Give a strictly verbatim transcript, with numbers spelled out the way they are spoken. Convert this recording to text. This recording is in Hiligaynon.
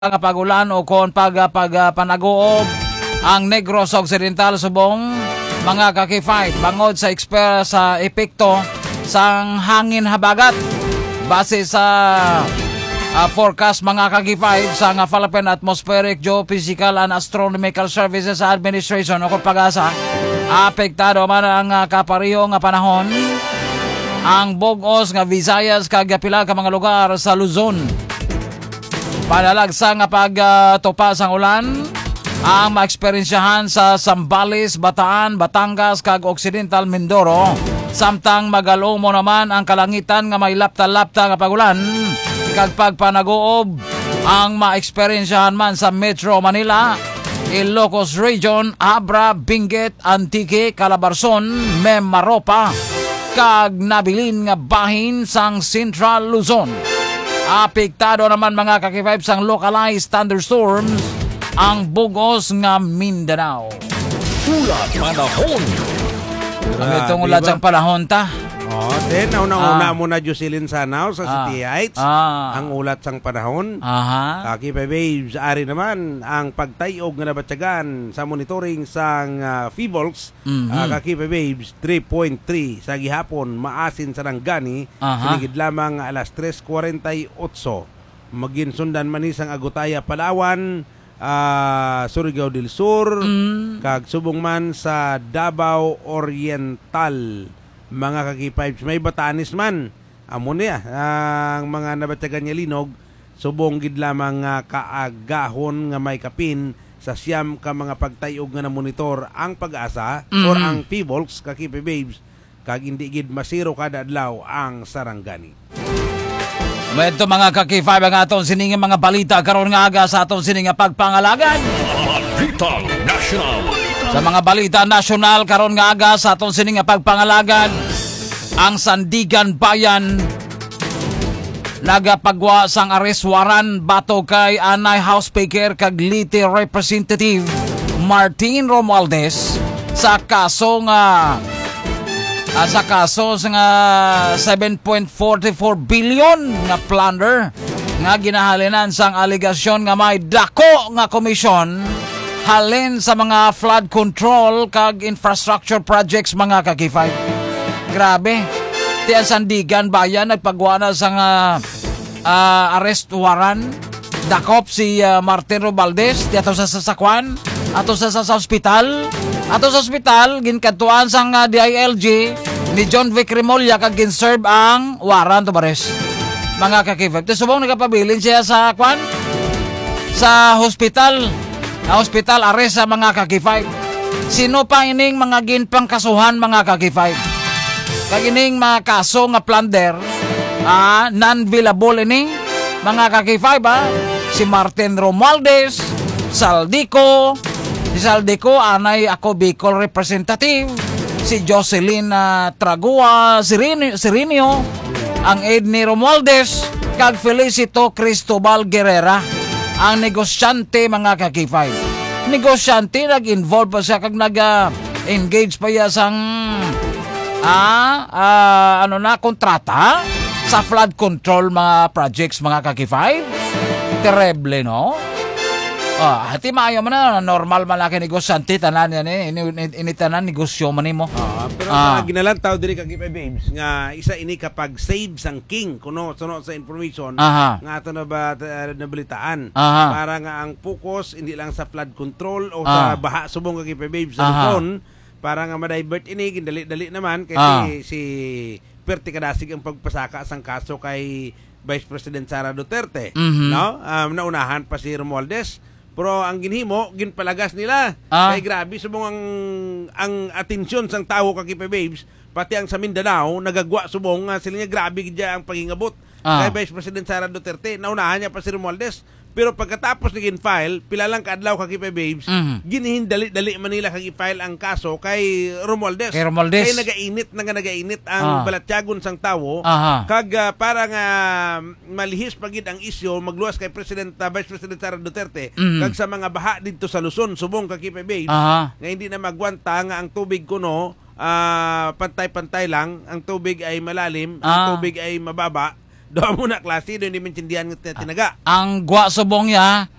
nga pag-ulan o kon pag, ah, pag, ah, panaguob ang Negros Occidental subong mga ka-K five bangod sa eksper-, sa epekto sang hangin habagat. Base sa, ah, forecast, mga ka-K five, sa nga Philippine Atmospheric Geophysical and Astronomical Services Administration o kon PAGASA, apektado man ang, ah, kapareho nga panahon ang bug-os nga Visayas kag pila ka mga lugar sa Luzon. Panalagsa nga pagtupa sang ulan ang maeksperiensyahan sa Zambales, Bataan, Batangas, kag Occidental Mindoro, samtang magalumo naman ang kalangitan nga may lapta-lapta nga pag-ulan kag pagpanaguob ang maeksperiensyahan man sa Metro Manila, Ilocos Region, Abra, Benguet, Antique, Calabarzon, Mimaropa, kag nabilin nga bahin sang Central Luzon. Apektado naman, mga ka-K five, sang localized thunderstorms ang bug-os nga Mindanao. Ulat panahon. Ang itong Grabe ulat ba? sang panahon ta. Oh, then, nauna-una Ah. mo na, Jocelyn Sanao, sa Ah. City Heights. Ah. Ang ulat sang panahon. Aha. Ka-K five Waves, ari naman ang pagtayog nga nabatyagan sa monitoring sang, ah, PHIVOLCS, Mhm. ah, ka-K five Waves, three point three sa gihapon, maasin sa Sarangani, Aha. siling gid lamang nga alas tres kwarenta y otso. Maginsundan man ni sang Agutaya, Palawan, ah, Surigao del Sur, Mm. kag subong man sa Davao Oriental, mga ka-K five. May Batanes man. Amo niya ang mga nabatyagan nga linog, subong gid lamang nga kaagahon nga may kapin sa siyam ka mga pagtayog nga namonitor ang PAGASA or Mhm. ang PHIVOLCS, ka-K five Waves, kag indi gid masiro kada adlaw ang Sarangani. Medyo, mga ka-K five, ang aton sining mga balita karon nga aga sa aton sining nga pagpangalagad. Balitang National. Sa mga balita nasyonal karon nga aga sa aton sining nga pagpangalagad, ang Sandiganbayan nagapagwa sang arrest warrant batok kay anay House Speaker kag Leyte Representative Martin Romualdez sa kaso nga, ah, sa kaso sa nga seven point forty-four billion nga plunder nga ginahalinan sang alegasyon nga may dako nga komisyon halin sa mga flood control kag infrastructure projects, mga ka-K five. Grabe. Ti ang Sandiganbayan nagpagwa na sa nga, ah, arrest warrant. Dakop si, ah, Martin Romualdez, ti ato sa sasakwan, ato sa, sa, sa ospital, ato sa ospital, ginkadtuan sang, ah, D I L G ni John Vic Remulla kag ginserve ang warrant of arrest. Mga ka-K five. Ti subong nagapabilin siya sa kwan? Sa hospital. Sa hospital, arrest sa mga ka-K five. Sino pa ining mga ginpangkasuhan, mga ka-K five? Kag ining mga kaso nga plunder, ah, non-bailable ini, mga ka-K five, ah. Si Martin Romualdez, Zaldy Co, si Zaldy Co, anay Ako Bicol representative, si Jocelyn, ah, Tragua Sirini-, Sirinio, ang aide ni Romualdez, kag Felicito Cristobal Guerrera, ang negosyante, mga ka-K five. Negosyante, nag-involve pa siya kag nag, ah, engage pa iya sang, ah, ah, ano na, kontrata sa flood control mga projects, mga ka-K five. Terrible, no? Ah, hati maayo man na, normal man laki negosyante, tanan yan eh. Ini, ini, ini tanan negosyo man nimo. Ah, pero Ah. sa ginalantaw diri ka K five Waves nga isa ini ka pag-save sang king, kuno, suno sa information Aha. nga ato na ba, uh, nabalitaan. Aha. Para nga ang focus hindi lang sa flood control o sa Ah. baha subong ka K five Waves sa Aha. Luzon, para nga ma-divert ini, gindali-dali naman kay Ah. si, si perte kadasig ang pagpasaka sang kaso kay Vice President Sara Duterte, Mhm. no? Um, naunahan pa si Romualdez. Pero ang ginhimo, ginpalagas nila. Ah. Kay grabe, subong ang, ang atensyon sang tawo ka K five Waves, pati ang sa Mindanao, nagagwa subong nga sila nga grabe gid ang paghingabot Ah. kay Vice President Sara Duterte. Naunahan niya pa si Romualdez. Pero pagkatapos ni gin-file, pila lang ka adlaw ka K five Waves, Mhm. ginhindali-dali man nila kag i-file ang kaso kay Romualdez. Kay Romualdez. Kay nagainit na nga nagainit ang Ah. balatyagon sang tawo. Aha. Kag, ah, para nga malihis pa gid ang isyu, magluwas kay President, ah, Vice President Sara Duterte, Mhm. kag sa mga baha didto sa Luzon, subong ka K five Waves, Aha. nga hindi na magwanta nga ang tubig kuno, ah, pantay-pantay lang, ang tubig ay malalim, ang Ah. tubig ay mababa, Do mo na klase, do hindi maintindihan nga tinaga. Ang gwa subong niya,